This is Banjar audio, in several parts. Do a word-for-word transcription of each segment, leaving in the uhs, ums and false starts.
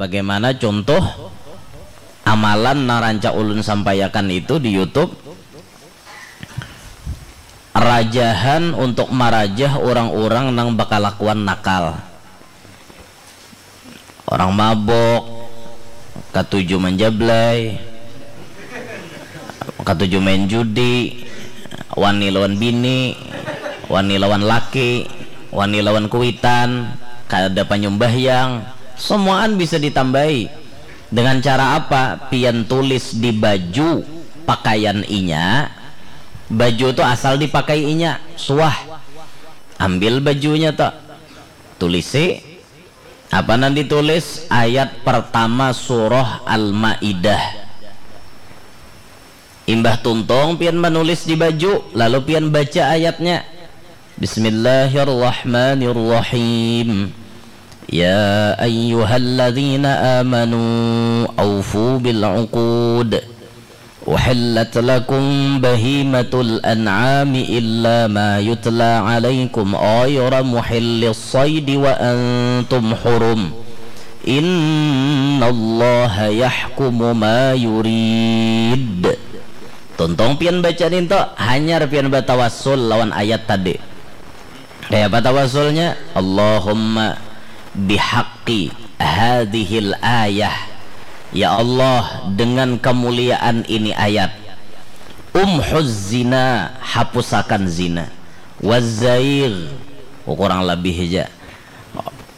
Bagaimana contoh amalan nang rancak ulun sampaiakan itu di YouTube, rajahan untuk marajah urang-urang nang bakalakuan nakal. Orang mabok, katuju manjablay, katuju main judi, wani lawan bini, wani lawan laki, wani lawan kuitan, kada panyumbahyang, semuaan bisa ditambai. Dengan cara apa? Pian tulis di baju pakaian inya, baju tu asal dipakai inya, suah, ambil bajunya tu, tulisi, apa nang ditulis? Ayat pertama surah Al-Maidah. Imbah tuntung pian manulis di baju, lalu pian baca ayatnya. Bismillahirrahmanirrahim. Ya ayyuhalladzina amanu aufu bil uqud. Uhillat lakum bahimatul an'ami illa ma yutla alaikum ghayra muhillis saidi wa antum hurum. Innallaha yahkumu ma yurid. Tuntung pian baca ninto, hanyar pian batawassul lawan ayat tadi. Kaya apa tawasulnya? Allahumma bihaqqi hadhil ayah. Ya Allah, dengan kemuliaan ini ayat. Umhuz zina, hapusakan zina. Wazzaigh, kurang lebih aja.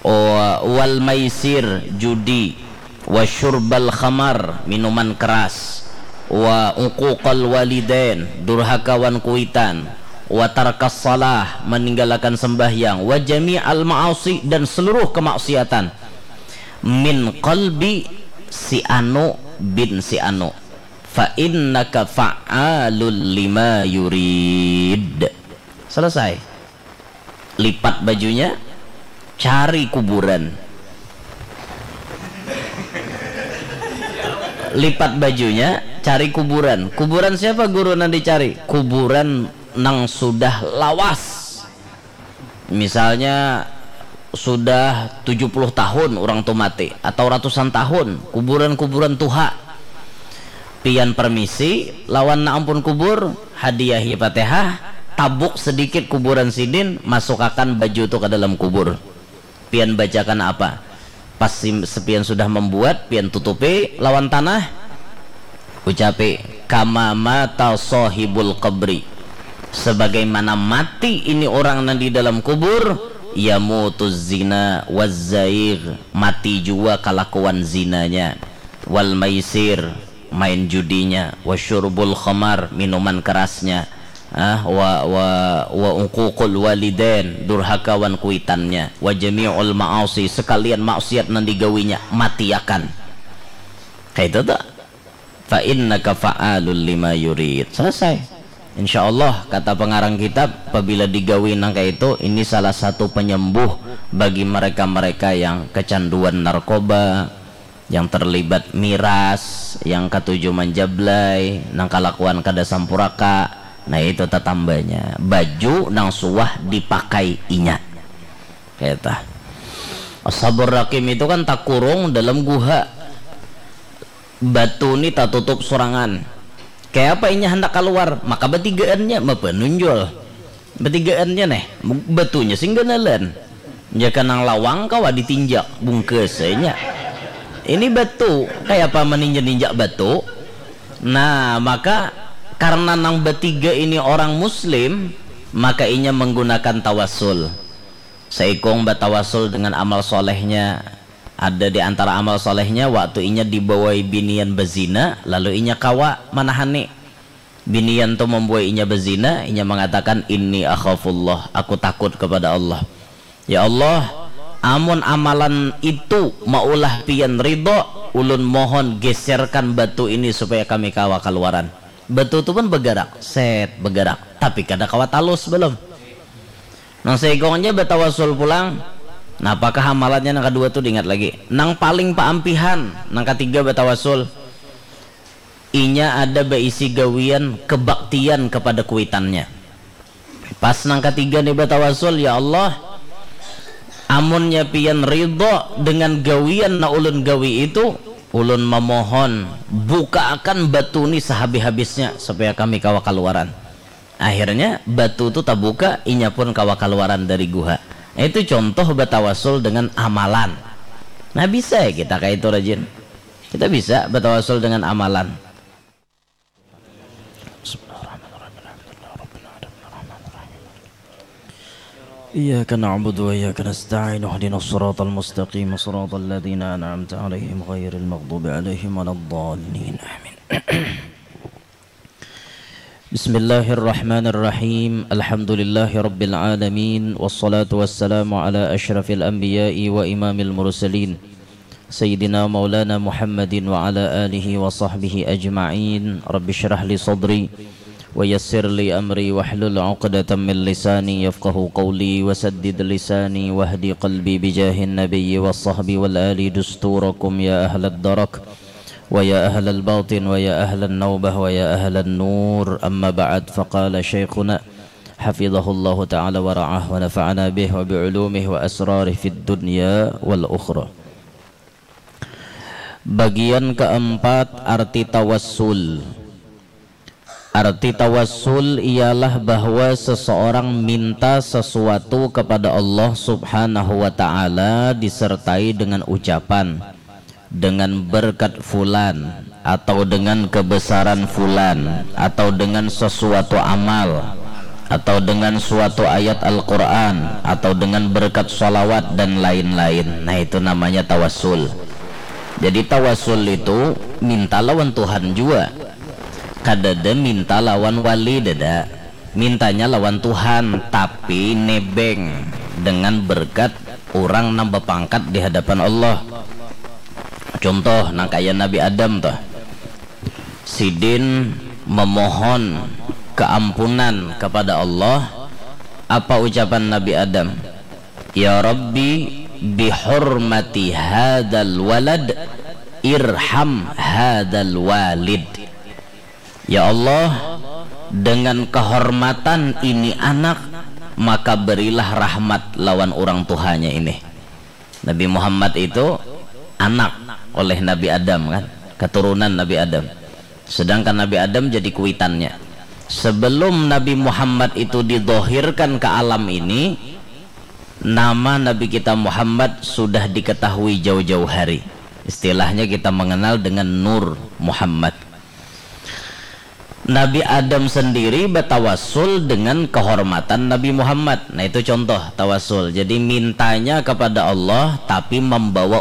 Wa-, wal maisir, judi. Wa syurbal khamar, minuman keras. Wa uquqal walidain, durhaka wan kuitan. Wa tarkas salah, meninggalkan sembahyang. Wa jami'al ma'asi, dan seluruh kemaksiatan. Min qalbi si anu bin si anu. Fa innaka fa'alul lima yurid. Selesai. Lipat bajunya, cari kuburan. Lipat bajunya, cari kuburan. Kuburan siapa guru nang dicari? Kuburan nang sudah lawas. Misalnya sudah tujuh puluh tahun orang tu mati, atau ratusan tahun, kuburan-kuburan tuha. Pian permisi lawan nang ampun kubur, hadiahi Fatihah, tabuk sedikit kuburan sidin, masukakan baju tu ka dalam kubur. Pian bacakan apa? Pas sim-, pian sudah membuat, pian tutupi lawan tanah, ucapi, "Kama mata sahibul qabri." Sebagaimana mati ini orang nang di dalam kubur, yamutuz zina wazzaigh, mati jua kalakuan zinanya, wal maisir, main judinya, wa syurbul khamar, minuman kerasnya, ah, wa, wa, wa uququl walidain, durhaka wan kuitannya, wa jami'ul ma'asi, sekalian maksiat nang digawinya, matiakan. Kayak itu tuh. Fa innaka fa'alul lima yurid. Selesai. Insya Allah, kata pengarang kitab, apabila digawi nang kayak itu, ini salah satu penyembuh bagi mereka-mereka yang kecanduan narkoba, yang terlibat miras, yang katuju manjablay, nang kalakuan kada sampuraka, nah itu tatambanya. Baju nang suah dipakai inya. Kata. Ashabur Rakim itu kan takurung dalam guha. Batu ni tatutup surangan. Kaya apa inya handak kaluar, maka batigaannya mapanunjul. Batigaannya neh, batunya sing ganalan. Jaka nang lawang kawa ditinjak, bungkasanya. Ini batu, kaya apa maninja-ninjak batu? Nah, maka karena nang batiga ini orang muslim, maka inya menggunakan tawasul. Saikung batawasul dengan amal solehnya. Ada di antara amal solehnya, waktu inya dibawai binian bazina, lalu inya kawa manahani. Binian tu mambuai inya bazina, inya mangatakan, "Inni akhafullah, aku takut kepada Allah." Ya Allah, amun amalan itu maulah pian ridho, ulun mohon geserkan batu ini supaya kami kawa kaluaran. Batu tu pun bagarak, set, bagarak, tapi kada kawa talus belum. Nang saikung ja batawasul pulang. Nah, apakah amalannya nang kadua tu diingat lagi? Nang paling paampihan, nang katiga batawasul. Inya ada baisi gawian kebaktian kepada kuitannya. Pas nang katiga ni batawasul, "Ya Allah, Amunnya pian ridho dengan gawian na ulun gawi itu, ulun memohon, bukaakan batu ni sehabis-habisnya supaya kami kawa kaluaran. Akhirnya batu tu tabuka, inya pun kawa kaluaran dari guha. Itu contoh batawasul dengan amalan. Nah, bisa ya kita kayak itu, rajin. Kita bisa batawasul dengan amalan. Bismillahirrahmanirrahim. Alhamdulillah, Rabbil Alamin, Arrahmanirrahim. Iyyaka na'budu wa iyyaka nasta'in. Ihdinas siratal mustaqim, siratal ladzina an'amta 'alaihim ghairil maghdubi 'alaihim waladdallin. Amin. Bismillahirrahmanirrahim. Alhamdulillahi rabbil alamin. Wassalatu wassalamu ala asyrafil anbiya'i wa imamil mursalin. Sayyidina maulana Muhammadin wa ala alihi wa sahbihi ajma'in. Rabbi syrah li sadri wa yassir li amri wahlul 'uqdatam min lisani yafqahu qawli wa saddid lisani wahdi qalbi bijahin nabiyyi wa sahbi wal ali dusturakum ya ahlad darak wa ya ahlal batin wa ya ahlan naubah wa ya ahlan nur. Amma ba'd, faqala syaikhuna hafidhahullahu ta'ala wa ra'ah wa nafa'ana bih wa bi ulumihi wa asrarih fid dunya wal ukhra. Bagian keempat, arti tawassul. Arti tawassul ialah bahwa seseorang minta sesuatu kepada Allah Subhanahu wa Ta'ala disertai dengan ucapan, dengan berkat fulan, atau dengan kebesaran fulan, atau dengan sesuatu amal, atau dengan suatu ayat Al-Quran, atau dengan berkat salawat, dan lain-lain. Nah, itu namanya tawassul. Jadi, tawassul itu minta lawan Tuhan jua. Kadada minta lawan wali, dada. Mintanya lawan Tuhan, tapi nebeng dengan berkat orang nang bapangkat di hadapan Allah. Contoh, nang kaya Nabi Adam tuh. Sidin memohon keampunan kepada Allah. Apa ucapan Nabi Adam? "Ya Rabbi, bihurmati hadal walad, irham hadal walid." Ya Allah, dengan kehormatan ini anak, maka berilah rahmat lawan orang tuhanya ini. Nabi Muhammad itu anak oleh Nabi Adam, kan, keturunan Nabi Adam. Sedangkan Nabi Adam jadi kuitannya. Sebelum Nabi Muhammad itu didohirkan ke alam ini, nama Nabi kita Muhammad sudah diketahui jauh-jauh hari. Istilahnya kita mengenal dengan Nur Muhammad. Nabi Adam sendiri bertawassul dengan kehormatan Nabi Muhammad. Nah, itu contoh tawassul. Jadi, mintanya kepada Allah, tapi membawa